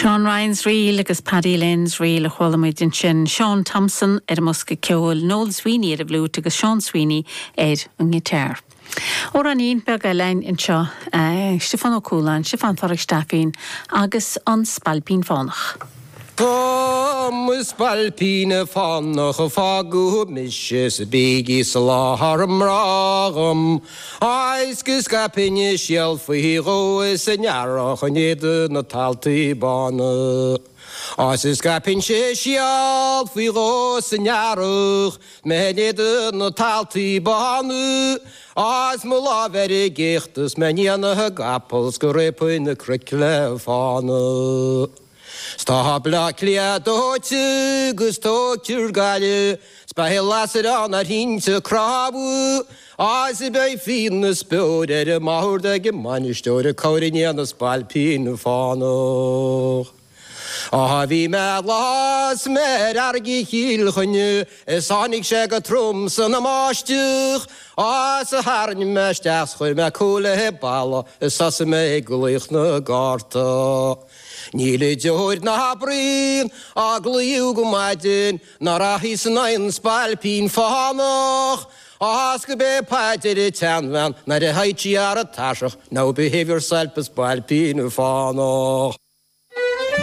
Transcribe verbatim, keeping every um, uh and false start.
Seán Ryan's Reel agus Paddy Lynn's Reel a chuala muid ansin Seán Thompson ar an mbosca ceoil, Noel Sweeney ar an bhfliúit agus Seán Sweeney ar an ngiotár. Amhráinín beag eile anseo uh, Stiofán Ó Cualáin, Stiofán Phádraig Stafín agus an Spailpín Fánach. Tá mo spailpín fánach a fágadh mise sa bígí sa láthair mrágam, Agus go scaipfinn síol faoi dhó san earrach in éadan na taltaí bána. Agus go scaipfinn síol faoi dhó san earrach, mé in éadan na taltaí bána, Agus mo lámh ar an gcéacht is mé i ndiaidh na gcapall 's go réabfainn na cnoic le fána. Tá Bleá Cliath dóite agus tógtha ar Gaillimh, 's beidh lasair ann ar thinte cnámha, Agus beidh fíon is beoir ar an mbord ag an mbainisteoir ag comhaireamh i ndiaidh na spailpín fánach. Á bhí mé lá is mé ar fharraige Chill Chainnigh is tháinig sé go trom san mbáisteach, Á 's tharraing mé isteach 's chuir mé cúl le balla is thosaigh mé ag glaoch na gcártaí. Níl deoir ná braon á glaodh go maidin ná rachaidh san aon spailpín fánach, Ás go bé paidir i teanmhan nar a haití ar a taseach, now behave yourself a spailpín fánach.